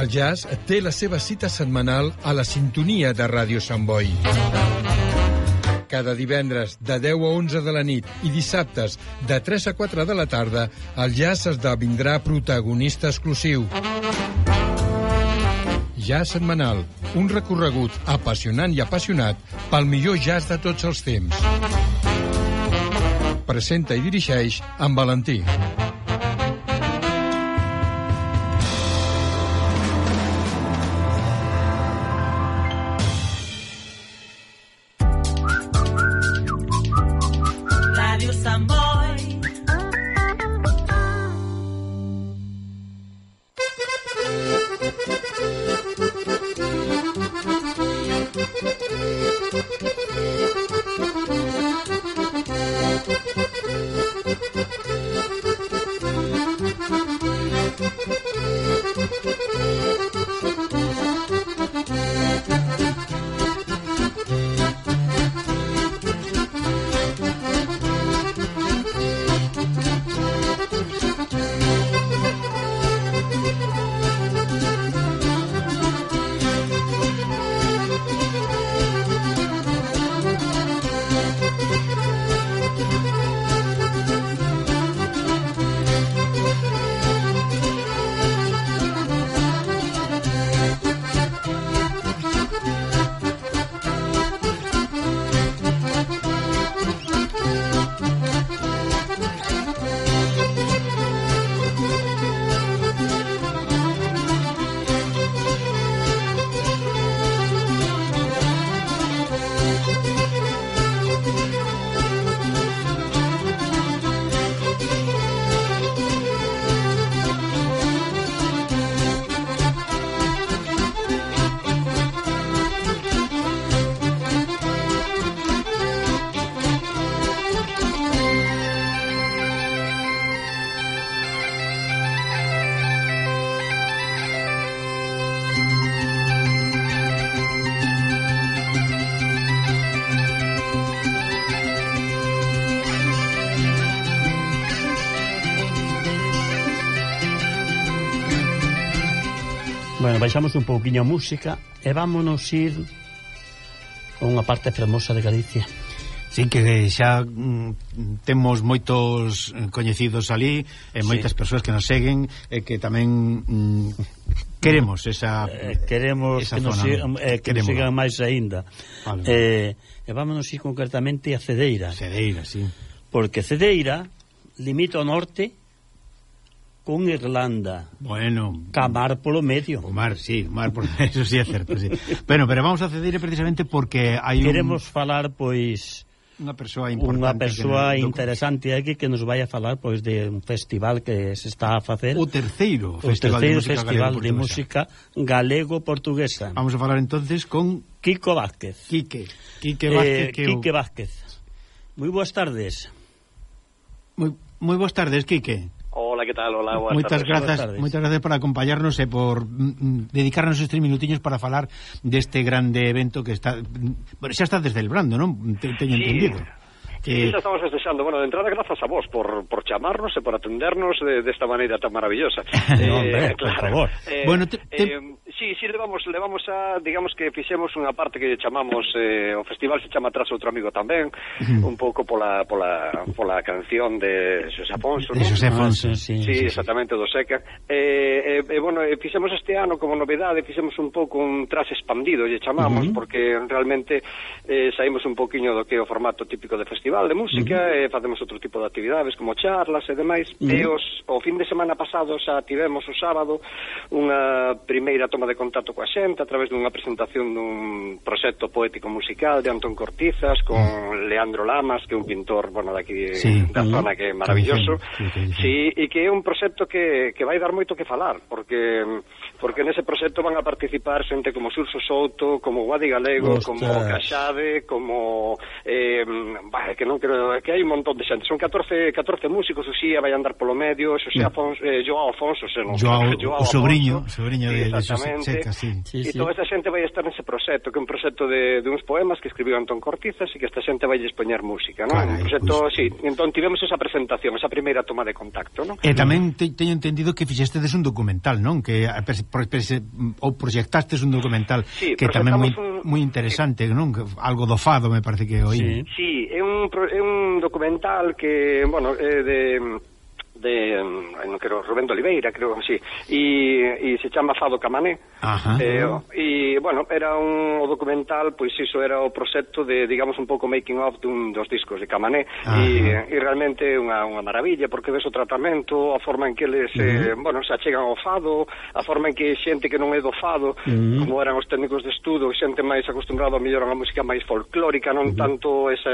El jazz té la seva cita setmanal a la sintonia de Ràdio Sant Boi. Cada divendres de 10 a 11 de la nit i dissabtes de 3 a 4 de la tarda, el jazz esdevindrà protagonista exclusiu. Jazz setmanal, un recorregut apassionant i apassionat pel millor jazz de tots els temps. Presenta i dirigeix en Valentí. Bueno, baixamos un pouquiño a música e vámonos ir a unha parte fermosa de Galicia. Sí, que xa temos moitos coñecidos ali e moitas persoas que nos seguen e que tamén queremos esa queremos esa que nos sigan, que nos sigan máis aínda. Vale. E vámonos ir concretamente a Cedeira. Cedeira, sí. Porque Cedeira limita ao norte con Irlanda. Bueno, Camar polo medio. O mar, sí, mar por eso sí é certo, sí. Bueno, pero vamos a Cedeira precisamente porque hai queremos falar, pois, unha persoa interesante aquí que nos vai a falar, pois, de un festival que se está a facer. O terceiro festival de música galego-portuguesa. Vamos a falar entonces con Quico Vázquez. Quique Vázquez. Moi boas tardes. Moi boas tardes, Quique. Hola, ¿qué tal? Hola, moitas grazas por acompañarnos e por dedicarnos estes minutiños para falar deste grande evento que está xa está desdelbrando, non? Teño entendido. Sí, xa estamos festexando. Bueno, de entrada, grazas a vos por chamarnos e por atendernos desta maneira tan maravillosa. Hombre, claro. Por favor. Bueno, sí, levamos a, digamos que fixemos unha parte que chamamos, o festival se chama Tras outro amigo tamén, un pouco pola canción de Xosé Afonso, ¿no? De Xosé Afonso, sí, exactamente, do Seca. Bueno, fixemos este ano como novedade, fixemos un pouco un Tras expandido, lle chamamos, porque realmente saímos un poquinho do que é o formato típico de festival de música, e facemos outro tipo de actividades como charlas e demais. E o fin de semana pasado xa tivemos o sábado unha primeira toma de contacto coa xente a través dunha presentación dun proxecto poético musical de Antón Cortizas con Leandro Lamas, que é un pintor, bueno, daqui da zona, que é maravilloso. Sí, e que é un proxecto que vai dar moito que falar, porque nese proxecto van a participar xente como Xurxo Souto, como Guadi Galego, como Caxade, como que non quero, que hai un montón de xente, son 14 músicos, o Xía vai andar polo medio, Xosé Afonso, Joao Afonso, o sobrinho de Xosé Seca, sí. E toda esta xente vai estar nese proxecto, que é un proxecto de uns poemas que escribiu Antón Cortizas, e que esta xente vai expoñer música, non? Un proxecto, sí, entón tivemos esa presentación, esa primeira toma de contacto, non? E tamén teño entendido que fixestedes un documental, non? Que ou proxectastes un documental que tamén moi interesante, non? Algo do fado, me parece que oí. Sí, é un documental que, bueno, non quero, Rubén de Oliveira, creo, sí, e se chama Fado Camané. E, bueno, era o documental, pois iso era o proxecto de, digamos, un pouco making of dos discos de Camané, e realmente é unha maravilla, porque ves o tratamento, a forma en que eles, bueno, se achegan ao fado, a forma en que xente que non é do fado, como eran os técnicos de estudo, xente máis acostumbrada a mellor a unha música máis folclórica, non tanto ese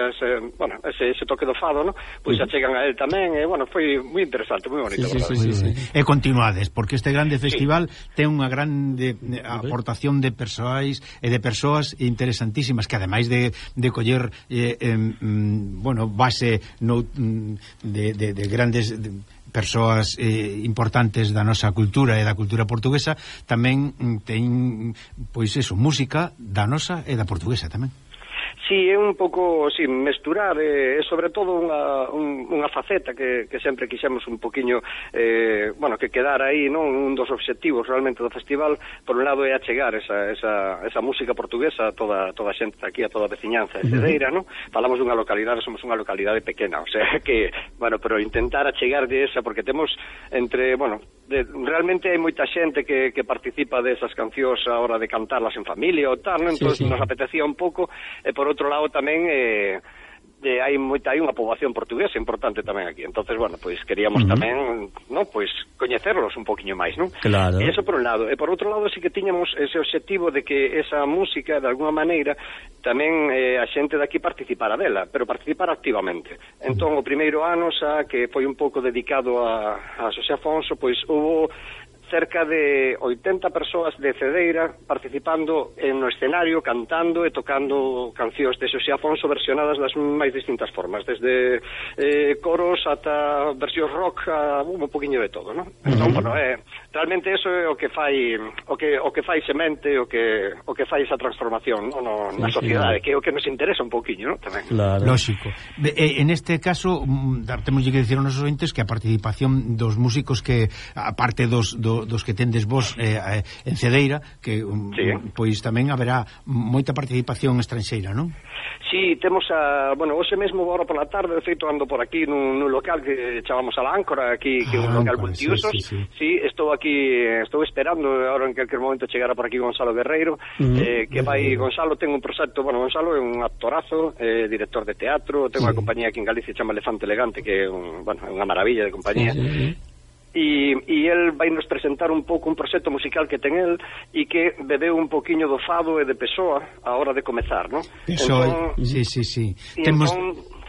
toque do fado, non? Pois se achegan a él tamén, e, bueno, foi moi interesante, moi bonito. Sí. E continuades, porque este grande festival ten unha grande aportación de persoais e de persoas interesantísimas que ademais de coller bueno, base de grandes persoas importantes da nosa cultura e da cultura portuguesa, tamén ten, pois eso, música da nosa e da portuguesa tamén. Sí, é un pouco, sí, mesturar, sobre todo unha faceta que sempre quixemos un poquinho, bueno, que quedar aí, non? Un dos obxectivos realmente do festival, por un lado é achegar esa música portuguesa a toda a xente aquí, a toda a veciñanza de Cedeira, non? Falamos dunha localidade, somos unha localidade pequena, o sea que, bueno, pero intentar achegar de esa, porque temos entre, bueno, realmente hai moita xente que participa desas cancións a hora de cantarlas en familia ou tal, non? Entón nos apetecía un pouco, e por outro lado tamén hai unha poboación portuguesa importante tamén aquí. Entonces, bueno, pois queríamos tamén, non, pois coñecerlos un poquinho máis, non? Claro. E eso por un lado, e por outro lado sí que tiñamos ese obxectivo de que esa música de alguna maneira tamén a xente daqui participara dela, pero participar activamente. Entón, o primeiro ano xa que foi un pouco dedicado a Xosé Afonso, pois hubo cerca de 80 persoas de Cedeira participando no escenario, cantando e tocando cancións de Xosé Afonso versionadas das máis distintas formas, desde coros ata versións rock, a un poquinho de todo, non? Entón, bueno, realmente eso é o que fai semente, o que fai esa transformación, non, na sociedade, que é o que nos interesa un poquinho, non? Tamén. Claro. Lógico. En este caso, temos que dicir aos nosos ointes que a participación dos músicos que, aparte dos que tendes vos en Cedeira, que pois tamén haberá moita participación estranxeira, non? Sí, temos bueno, hoxe mesmo agora por la tarde, de feito ando por aquí nun local que chamamos a la Áncora, aquí, que é un local multiusos. Sí, estou aquí, estou esperando agora en calquer momento chegara por aquí Gonzalo Guerreiro, que vai, Gonzalo ten un proxecto, bueno, Gonzalo é un actorazo, director de teatro, ten unha compañía aquí en Galicia chama Elefante Elegante, que é unha maravilla de compañía. E el vai nos presentar un pouco un proxecto musical que ten el e que bebeu un poquinho do fado e de Pessoa a hora de comezar, non? Pessoa, sí.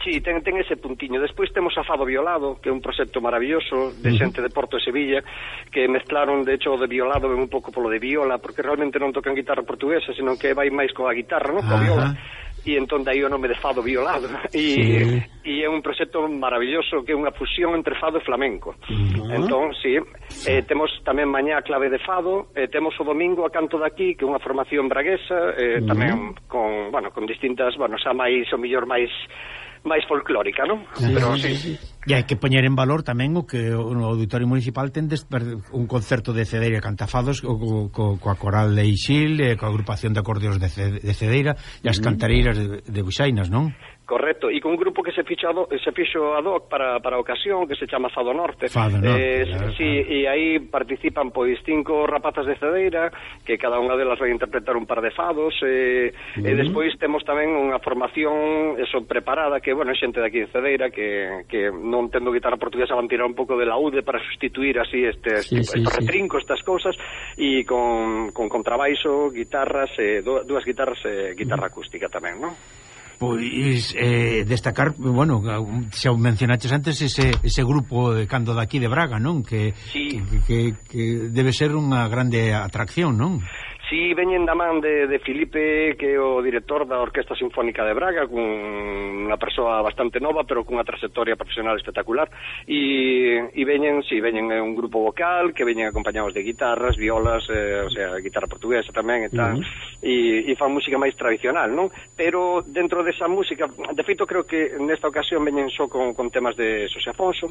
Sí, ten ese puntiño. Despois temos a Fado Violado, que é un proxecto maravilloso de xente de Porto e Sevilla, que mezclaron, de hecho, o de violado ven un pouco polo de viola, porque realmente non tocan guitarra portuguesa, senón que vai máis coa guitarra, non? Coa viola. E entón dai o nome de Fado Violado. E é un proxecto maravilloso que é unha fusión entre fado e flamenco. Entón, sí, temos tamén mañá a clave de fado, temos o domingo a Canto daqui, que é unha formación braguesa, tamén con distintas, xa máis, o mellor máis folclórica, non? Pero sí. E hai que poñer en valor tamén o que no Auditorio Municipal tendes un concerto de Cedeira Cantafados coa Coral de Ixil, coa agrupación de acordeos de Cedeira e as cantareiras de Buxainas, non? Correcto, e con un grupo que se fixo ad hoc para a ocasión, que se chama Fado Norte. Fado Norte, claro. Sí, e aí participan pois 5 rapazas de Cedeira, que cada unha delas vai interpretar un par de fados, e despois temos tamén unha formación preparada, que, bueno, xente de aquí de Cedeira, que non tendo guitarra portuguesa van tirar un pouco de laude para sustituir así estes retrincos, estas cousas, e con contrabaixo, guitarras, dúas guitarras e guitarra acústica tamén, non? Pois destacar, bueno, xa mencionaches antes ese grupo de Cando daqui de Braga, non? Que debe ser unha grande atracción, non? Si veñen da man de Filipe, que é o director da Orquesta Sinfónica de Braga, unha persoa bastante nova, pero cunha trayectoria profesional espectacular, e veñen un grupo vocal, que veñen acompañados de guitarras, violas, o sea, guitarra portuguesa tamén, e tal, e fan música máis tradicional, non? Pero dentro desa música, de feito, creo que nesta ocasión veñen só con temas de Xosé Afonso,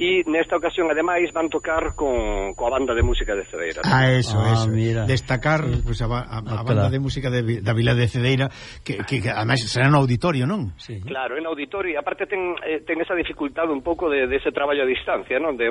e nesta ocasión, ademais, van tocar coa banda de música de Cedeira. Eso. Mira. Destacar pues, a banda de música da Vila de Cedeira que además será no auditorio, non? Sí. Claro, en auditorio, e aparte ten esa dificultade un pouco de ese traballo a distancia, non? De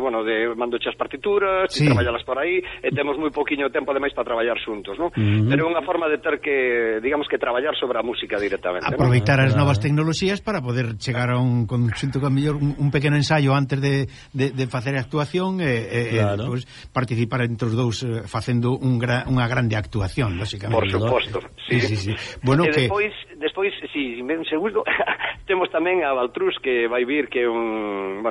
mando as partituras, e traballalas por aí, e temos moi poquinho tempo ademais para traballar xuntos, non? Pero é unha forma de ter que, digamos que traballar sobre a música directamente. Aproveitar as novas tecnoloxías para poder chegar a un conxunto con mellor un pequeno ensaio antes de facer a actuación e pues, participar entre os dous facendo unha grande actuación, lógicamente. Por suposto, sí. Bueno, que despois, si me segundo, temos tamén a Baltrús, que vai vir, que é un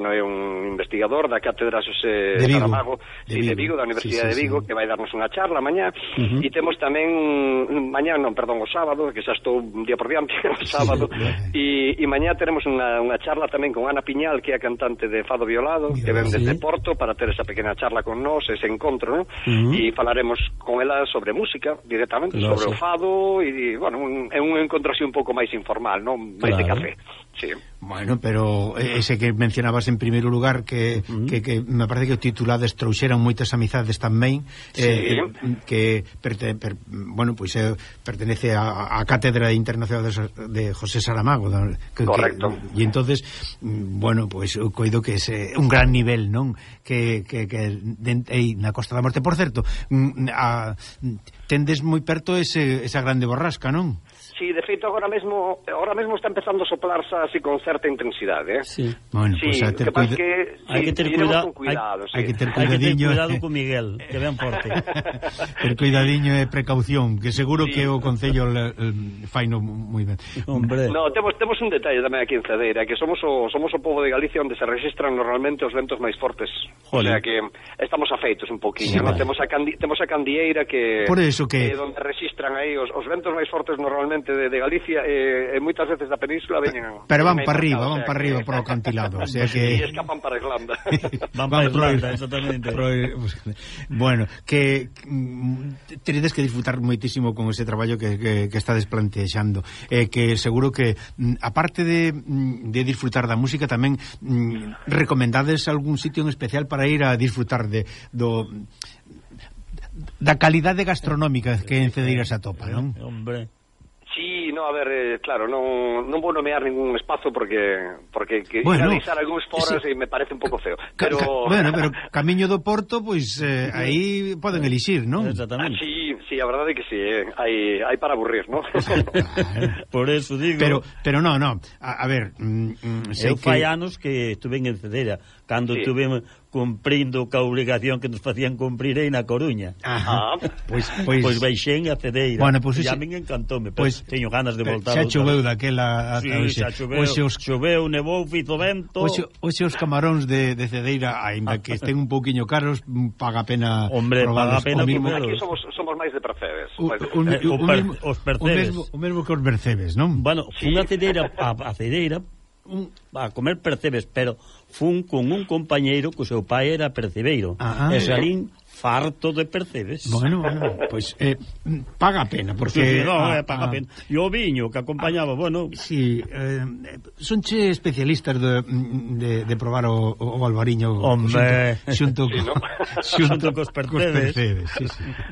investigador da Cátedra Xosé Saramago de Vigo, da Universidade de Vigo, que vai darnos unha charla mañá, e temos tamén o sábado, que xa estou un día por diante, o sábado, e mañá teremos unha charla tamén con Ana Piñal, que é a cantante de Fado Violado, que ven desde Porto para ter esa pequena charla con nós, ese encontro, non? E falaremos con ela sobre música directamente, sobre o fado, e, é un encontro así un pouco máis informal, non? Máis de café. Sí. Bueno, pero ese que mencionabas en primeiro lugar que me parece que o titulades trouxeran moitas amizades tamén, que pertenece a Cátedra Internacional de José Saramago, correcto. E entonces, coido que é un gran nivel, non? Que na Costa da Morte, por certo, tendes moi perto esa grande borrasca, non? Sí, de feito agora mesmo está empezando a soplarse así con certa intensidade, Sí. Bueno, sí, pues hai que ter cuidado, hai que ter cuidadiño con Miguel, que ven forte. Ter cuidadiño e precaución, que seguro que o Concello faino moi ben. Hombre. No, temos un detalle tamén aquí en Cedeira, que somos o pobo de Galicia onde se registran normalmente os ventos máis fortes. O sea que estamos afeitos un poquinho, ¿no? Temos a Candieira que por eso que onde registran aí os ventos máis fortes normalmente de Galicia, e moitas veces da península veñen, pero van para arriba por o acantilado, o sea que e escapan para Irlanda. van para Irlanda, exactamente. Bueno, que teredes que disfrutar moitísimo con ese traballo que estades plantexando, que seguro que aparte de disfrutar da música tamén recomendades algún sitio en especial para ir a disfrutar da calidade gastronómica que en Cedeira se atopa, non? Hombre. Sí, no, a ver, claro, non vou nomear ningún espazo porque realizar algúns foras me parece un pouco feo. Pero Camiño do Porto, pois aí poden elixir, non? Exactamente. Sí, a verdade é que sí, hai para aburrir, non? Por eso digo. Pero no, a ver, eu fai anos que estuve en Cedeira, cando estuve cumprindo ca obrigación que nos facían cumprir aí na Coruña. Pois baixen a Cedeira. Bueno, pues e a min encantoume, pero teño ganas de voltar. Xa choveu daquela ata hoxe. Choveu, nevou, fizo vento. Hoxe os camaróns de Cedeira, aínda que estén un pouquiño caros, paga pena. Hombre, paga pena comerlos. Aquí somos máis de percebes. Os percebes. O mesmo que os percebes, non? Bueno, fun a Cedeira a comer percebes, pero fun con un compañeiro que o seu pai era percebeiro, e salín farto de percebes. Bueno, pois paga a pena, porque paga a pena. E o viño que acompañaba, sí, sonche especialistas de probar o albariño, hombre, xunto cos percebes. Sí.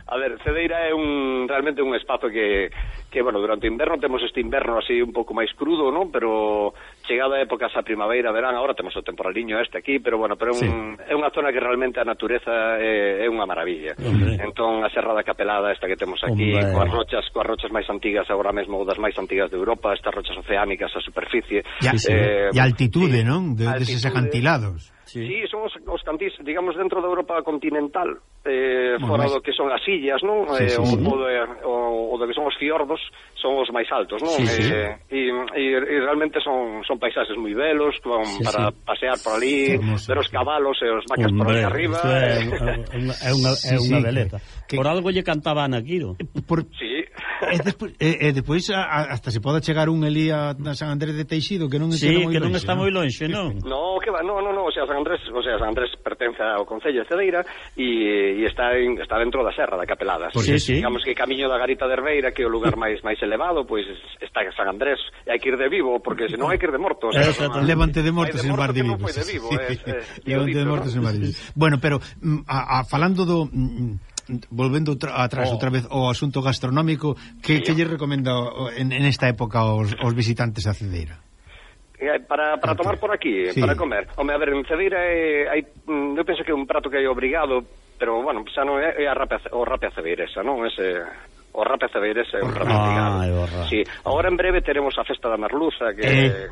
A ver, Cedeira é realmente un espazo que durante o inverno temos este inverno así un pouco máis crudo, non? Pero chegada a épocas a primavera, verán, agora temos o temporaliño aquí, pero é unha zona que realmente a natureza é unha maravilla. Entón, a Serra da Capelada esta que temos aquí, coas rochas máis antigas agora mesmo, das máis antigas de Europa, estas rochas oceánicas a superficie. E altitude, non? Deses acantilados. Sí, son os cantís, digamos, dentro da Europa continental, fora do que son as illas, non? O do que son os fiordos, son os máis altos, non? E realmente son paisaxes moi belos, para pasear por ali, ver os cabalos e os vacas por ali arriba. É unha beleza. Por algo lle cantaban a Quiro. Sí. E despois hasta se pode chegar un elí a San Andrés de Teixido, que non está moi lonxe, non? No, que va, no, o sea, San Andrés pertence ao Concello de Cedeira e está dentro da Serra da Capelada. Digamos que camiño da Garita de Herbeira, que é o lugar máis elevado, pois está San Andrés, e hai que ir de vivo, porque senón hai que ir de morto. Levante de morto sen bar de vivos. Levante de morto sen bar de vivos. Bueno, pero falando do... volvendo atrás outra vez ao asunto gastronómico, que lle recomenda en esta época aos visitantes a Cedeira? Para tomar por aquí, para comer. Home, a ver, en Cedeira eu penso que é un prato que hai obrigado, pero, bueno, xa non é o rape a cedeiresa, non? O rape a cedeiresa é un prato obrigado. Sí, agora en breve teremos a festa da merluza, que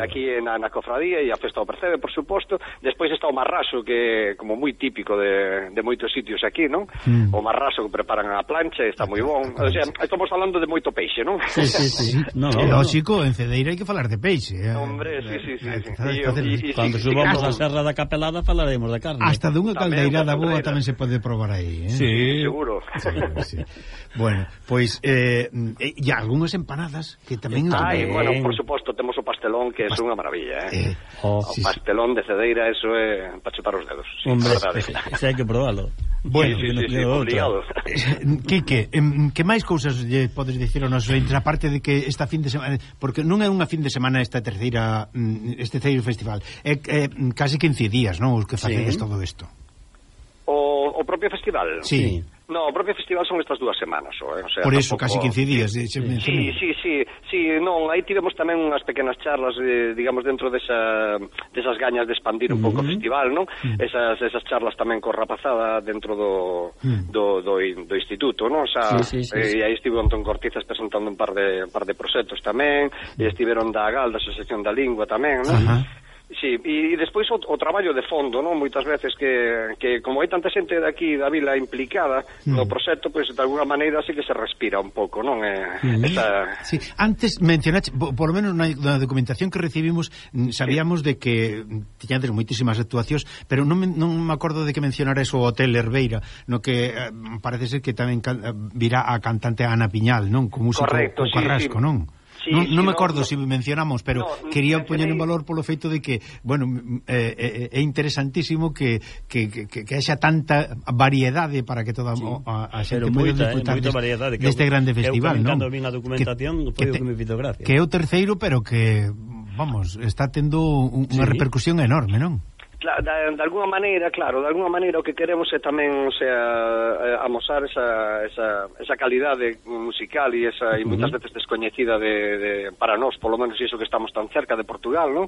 aquí na cofradía, e a festa do percebe, por suposto. Despois está o marraso, que é como moi típico de moitos sitios aquí, non? O marraso que preparan a plancha e está moi bon. O sea, estamos falando de moito peixe, non? Sí. Lógico, en Cedeira hai que falar de peixe. Hombre, sí. Cando subamos a Serra da Capelada falaremos de carne. Hasta dunha caldeirada boa tamén se pode probar aí, Sí, seguro. Sí. Bueno, pois e algunhas empanadas que tamén... bueno, por suposto, temos o pastelón, que é unha maravilla, o pastelón de Cedeira, eso é para chupar os dedos. Hombre, ese hai que probarlo. Bueno, obligado. Quique, que máis cousas lle podes dicir ao noso entre a parte de que esta fin de semana, porque non é unha fin de semana este terceiro festival, é casi 15 días, non, os que facedes todo isto. O propio festival? Sí. No, o propio festival son estas 2 semanas, o sea, por eso, casi 15 días. Sí, non, aí tivemos tamén unhas pequenas charlas, digamos, dentro desas gañas de expandir un pouco o festival, non? Esas charlas tamén con rapazada dentro do instituto, non? O sea, e aí estivo Antón Cortizas presentando un par de proxectos tamén, e estiveron da AGAL, da Asociación da Lingua tamén, non? Sí, e despois o traballo de fondo, non? Moitas veces que como hai tanta xente daqui da vila implicada no proxecto, pois de alguna maneira sí que se respira un pouco, non? Sí, antes mencionaste, por lo menos na documentación que recibimos, sabíamos de que tiñades moitísimas actuacións, pero non me acordo de que mencionaras o Hotel Herbeira, no que parece ser que tamén virá a cantante Ana Piñal, non? Con músico Carrasco, non? Non me acordo se mencionamos, pero quería poñer en valor polo feito de que, bueno, é interesantísimo que haxa tanta variedade para que toda a xente poida disfrutar deste grande festival, non? Cando vin a documentación foi o que me fixo gracia. Que é o terceiro, pero que, vamos, está tendo unha repercusión enorme, non? De alguna maneira, claro, o que queremos é tamén, o sea, amosar esa calidade musical e moitas veces descoñecida para nós, polo menos iso que estamos tan cerca de Portugal, non?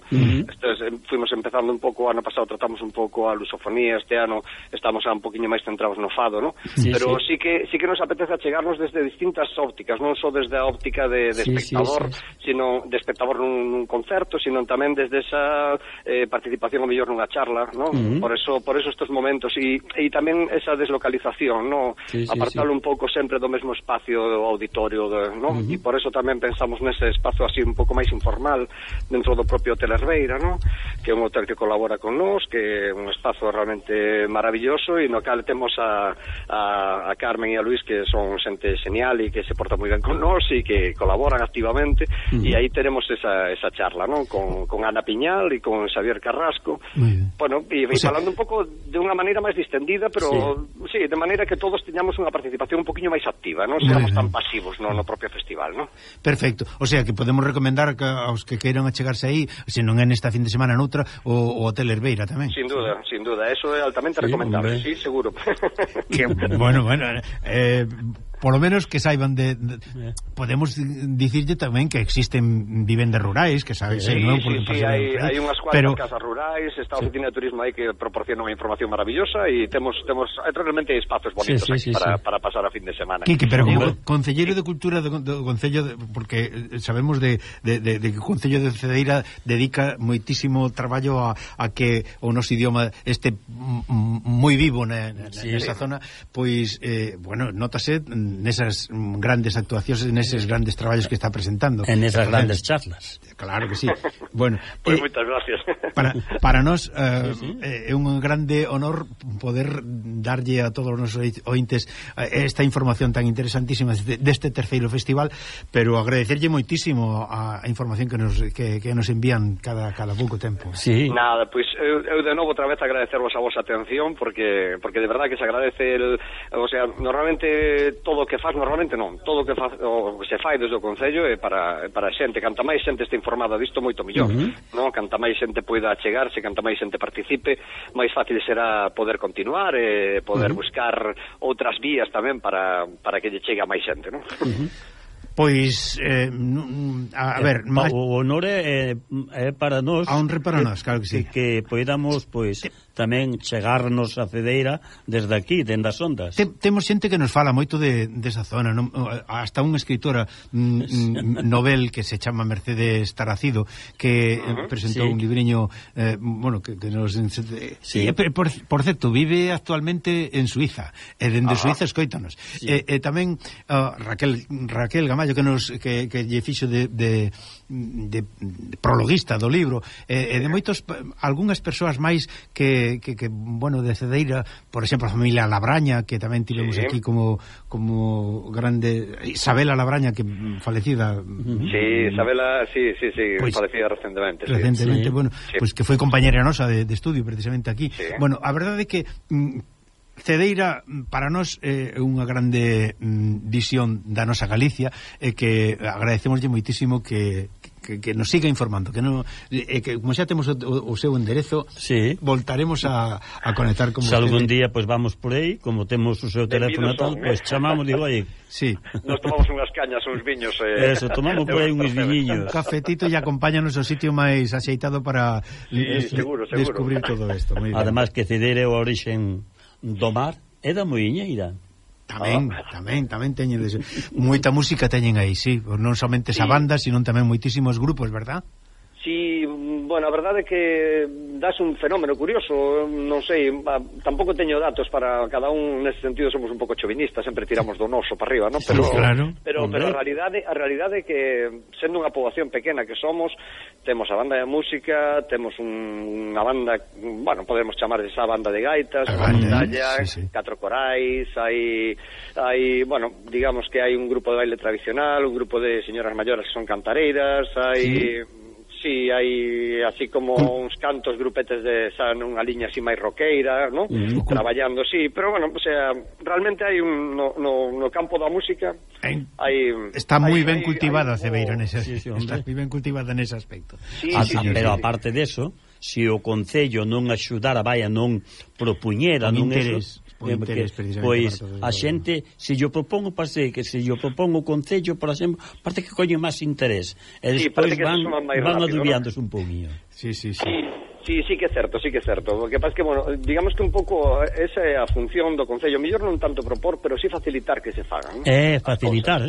Fuimos empezando un pouco, ano pasado tratamos un pouco a lusofonía, este ano estamos un poquinho máis centrados no fado, non? Pero sí que nos apetece chegarnos desde distintas ópticas, non só desde a óptica de espectador, sino de espectador nun concerto, sino tamén desde esa participación o mellor nunha charla, ¿no? Por eso estos momentos e tamén esa deslocalización, ¿no? Apartalo un pouco sempre do mesmo espacio do auditorio, ¿no? E por eso tamén pensamos nese espazo así un pouco máis informal dentro do propio Hotel Herbeira, ¿no? Que é un hotel que colabora con nós, que é un espazo realmente maravilloso e no cal temos a Carmen e a Luis, que son xente genial e que se porta moi ben con nós e que colaboran activamente, e aí tenemos esa charla, ¿no? Con Ana Piñal e con Xavier Carrasco. Bueno, e falando un pouco de unha maneira máis distendida, pero sí, de maneira que todos teñamos unha participación un poquinho máis activa, non seamos tan pasivos no propio festival, non? Perfecto, o sea que podemos recomendar aos que queiran achegarse aí, se non é nesta fin de semana noutra, o Hotel Herbeira tamén. Sin duda, eso é altamente recomendable, sí, seguro. Que, bueno, polo menos que saiban podemos dicirlle tamén que existen vivendas rurais, que sabes, non? Sí, hai unhas cuantas casas rurais, está a Oficina de Turismo aí que proporciona unha información maravillosa e temos realmente espacios bonitos aquí para pasar a fin de semana. Quique, pero como Concelleiro de Cultura do Concello, porque sabemos de que o Concello de Cedeira dedica moitísimo traballo a que o noso idioma este moi vivo nesa zona, pois, bueno, nótase nesas grandes actuacións, neses grandes traballos que está presentando. En esas grandes charlas. Claro que sí. Bueno, pues moitas gracias. Para nós é un grande honor poder darlle a todos os nosos ointes esta información tan interesantísima deste terceiro festival, pero agradecerlle moitísimo a información que nos envían cada pouco tempo. Sí. Nada, pois eu de novo outra vez agradecervos a vosa atención porque de verdad que se agradece o sea, normalmente todo o que faz, todo o que se fai desde o Concello é para a xente, canta máis xente este informada disto moito millón, non? Canta máis xente poida chegarse, canta máis xente participe, máis fácil será poder continuar e poder buscar outras vías tamén para que lle chegue a máis xente, non? Pois, a ver... O honor é para nós... A honra para nós, claro que sí. Que podamos, pois, tamén chegarnos a Cedeira desde aquí, dende as ondas. Temos xente que nos fala moito desa zona, non? Hasta unha escritora novel que se chama Mercedes Taracido, que presentou un libriño, bueno, que nos... Por certo, vive actualmente en Suiza, e dende Suiza escoítanos. E tamén Raquel Gamallo, que lle fixo de prologuista do libro, e de moitos, algunhas persoas máis que bueno, de Cedeira, por exemplo, a familia Labraña, que tamén tivemos aquí como grande, Isabela Labraña, que falecida. Sí, Isabela, sí, pues, falecida recentemente. Bueno, pues que foi compañera nosa de estudio precisamente aquí. Bueno, a verdade é que Cedeira para nós é unha grande visión da nosa Galicia, e que agradecemoslle moitísimo que nos siga informando, que como xa temos o seu enderezo, voltaremos a conectar con vostede. Se algún día pues vamos por aí, como temos o seu teléfono tal, pues chamamos, digo, aí. Sí. Nos tomamos unhas cañas, uns viños. Eso, tomamos por aí uns viñiños. Un cafetito e acompáñanos ao sitio máis axeitado para seguro. descubrir todo isto. Además que Cedeira é o orixen do mar e da muiñeira. Tamén teñen moita música teñen aí, sí, non somente esa banda, sino tamén moitísimos grupos, verdad? Sí, bueno, a verdade é que das un fenómeno curioso, non sei, tampouco teño datos para cada un, nesse sentido somos un pouco chauvinistas, sempre tiramos do noso para arriba, non? Pero, sí, claro. Pero a realidade é que sendo unha poboación pequena que somos, temos a banda de música, temos unha banda, bueno, podemos chamar esa banda de gaitas, unha bandalla, 4 corais, hai, bueno, digamos que hai un grupo de baile tradicional, un grupo de señoras maiores que son cantareiras, hai... Sí, hai así como uns cantos grupetes de unha liña así máis roqueira, ¿no? Traballando, sí, pero bueno, o sea, realmente hai no campo da música está moi ben cultivada Cedeira está moi ben cultivada nese aspecto. Pero aparte deso, se o Concello non axudara, non propuñera, non eso, pois a xente, se yo propongo que se yo propongo o Concello, por exemplo, parte que coñe máis interés, e despois van adubiándose un pouquinho. Sí, que é certo. O que pasa que, bueno, digamos que un pouco esa é a función do Concello, mellor non tanto propor, pero sí facilitar que se fagan, ¿no? Facilitar,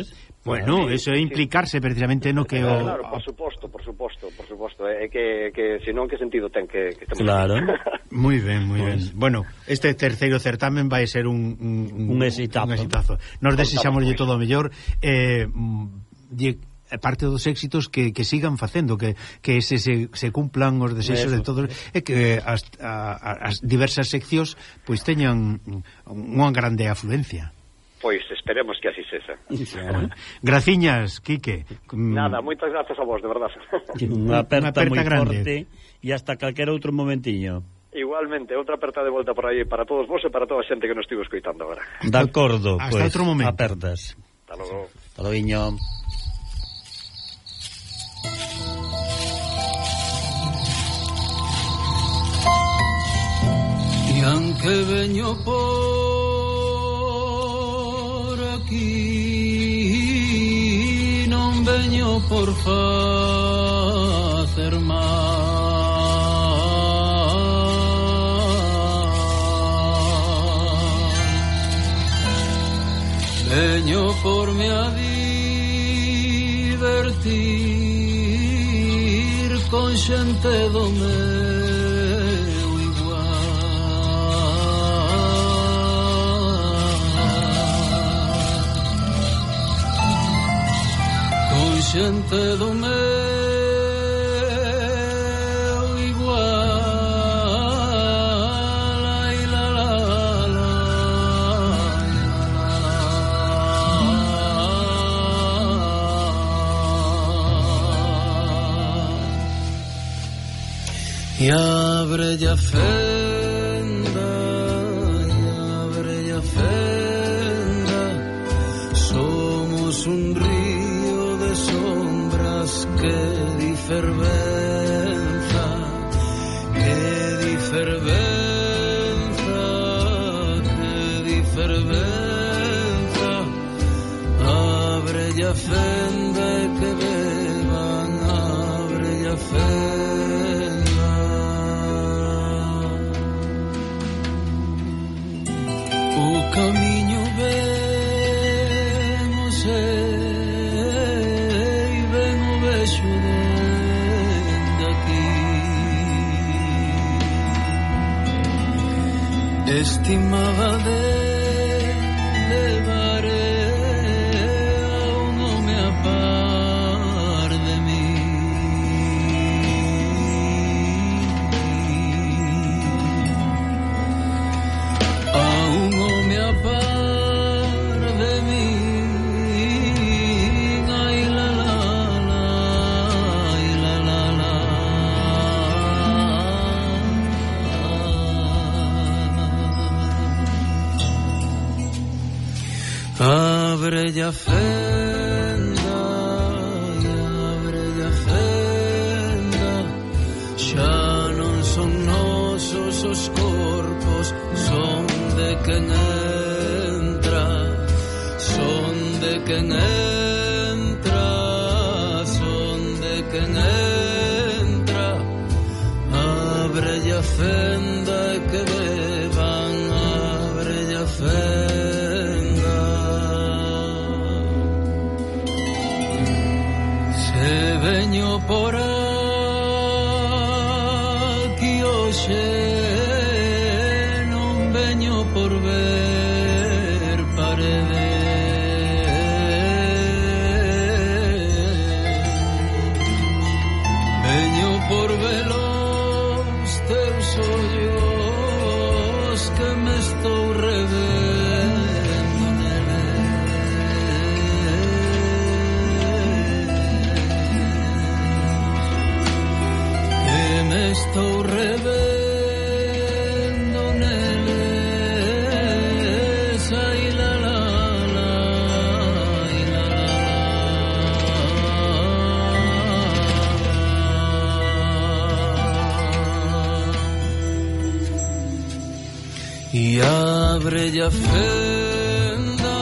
Bueno, eso é implicarse precisamente no que Claro, por suposto. É que senón que sentido ten que claro. Moi ben. Bueno, este terceiro certamen vai ser un exitazo. Nos desexamoslle todo o mellor, parte dos éxitos que sigan facendo, que se cumplan os desexos de todos, e que as diversas seccións pois teñan unha grande afluencia. Pois esperemos que así sexa. Graciñas, Quique. Nada, moitas grazas a vos, de verdad. Unha aperta moi forte e hasta calquera outro momentiño. Igualmente, outra aperta de volta por aí para todos vos e para toda a xente que nos estivo escoitando agora. De acordo, hasta outro momento. Apertas. Hasta logo. Hasta logo. E aunque veño por aquí non veño por facer mal, veño por me a divertir con xente do meu igual, con xente do meu igual, ai la la la, e abre a fenda, somos un río de sombras que di fervenza, abre a fenda e que beban, abre a fenda. O camiño ben o sei, ben o vexo dende aquí, estimaba de levaré a un home a par de mí, a un home a par de mí, ai la la la, ai la la la. Abre a fenda, xa non son nosos os corpos, son de quen entra, son de quen entra, son de quen entra. Abre a fenda e que beban, abre a fenda. Se veño por aquí hoxe, non veño por ver paredes, veño por ver os teus ollos que me estou revendo neles, que me estou revendo neles, ai la la la, ai la la. E abre a fenda,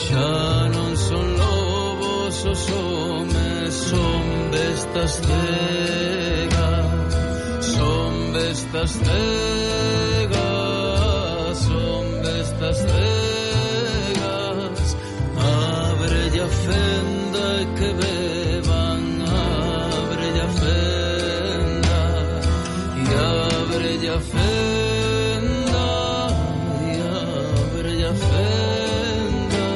xa non son lobos os homes, son bestas cegas, son bestas cegas, son bestas cegas. Abre a fenda e que beban, abre a fenda, e abre a fenda, e abre a fenda,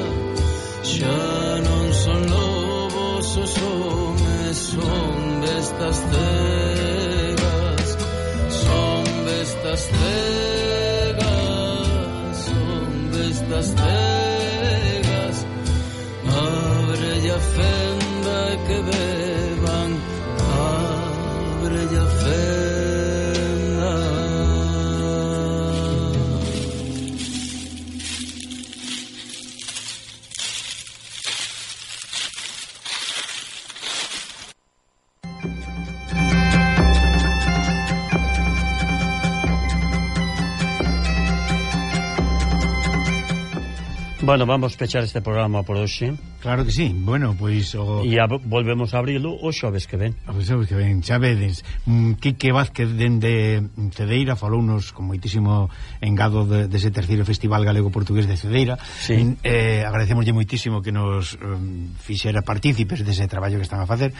xa non son lobos os homes, son bestas cegas, son bestas cegas, son bestas cegas. Abre a fenda e que beban, abre a fenda. Bueno, vamos pechar este programa por hoxe. Claro que sí. Bueno, pois e volvemos a abrilo o xoves que ven. O xoves que ven, xa vedes. Quique Vázquez dende Cedeira falounos con moitísimo engado dese terceiro Festival Galego-Portugués de Cedeira. Sí. Agradecemoslle moitísimo que nos fixera partícipes dese traballo que están a facer.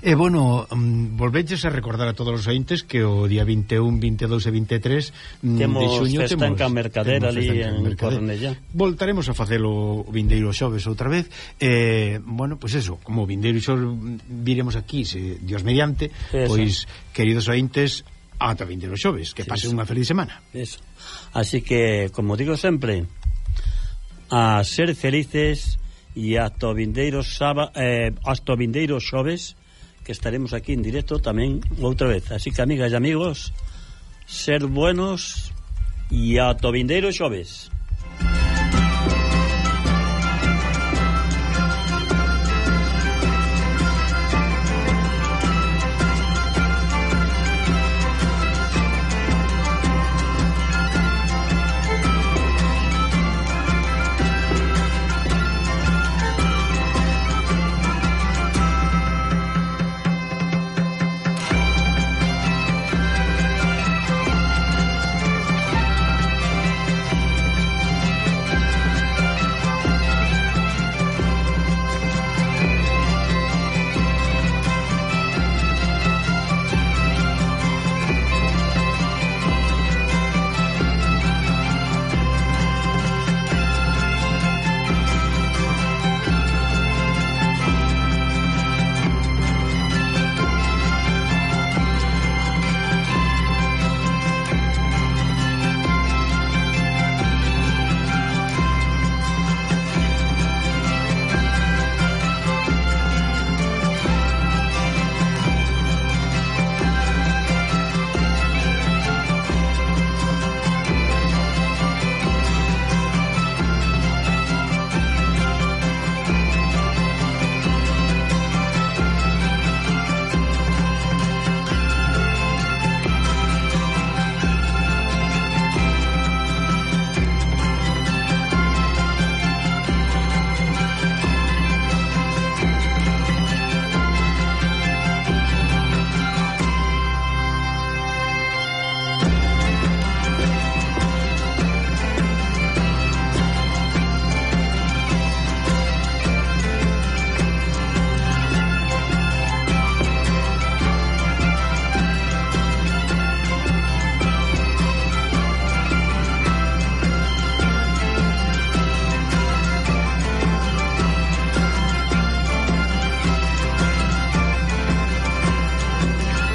E, bueno, volveches a recordar a todos os ointes que o día 21, 22 e 23 de xuño festa en Can Mercader ali en Cornellá. Voltaremos a facelo o vindeiro xoves outra vez. Bueno, pois eso, como o vindeiro xoves viremos aquí, se Dios mediante, pois, queridos ointes, ata vindeiro xoves, que pase unha feliz semana. Eso. Así que, como digo sempre, a ser felices e hasta o vindeiro xoves, que estaremos aquí en directo tamén outra vez. Así que, amigas e amigos, ser buenos e ata o vindeiro xoves.